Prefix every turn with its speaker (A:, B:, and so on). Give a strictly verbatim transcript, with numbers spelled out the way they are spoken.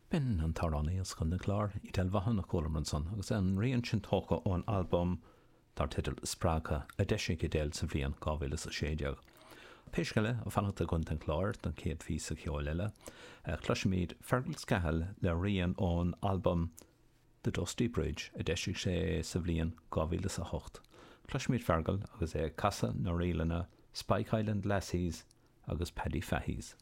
A: B'in an t-amhránaí as Contae an Chláir, Edel Vaughan a chualamar ansan, agus an rian sin tógtha ón albam dar teideal Spreagtha a d'eisigh Edel sa bhliain dhá mhíle is a sé déag. Pé scéal é, ag fanacht i gContae an Chláir don chéad phíosa ceoil eile, cloisfimid Fergal Scahill le rian ón albam The Dusty Bridge a d'eisigh sé sa bhliain dhá mhíle is a hocht. Cloisfimid Fergal agus é ag casadh na ríleanna Spike Island Lassies agus Paddy Fahey's.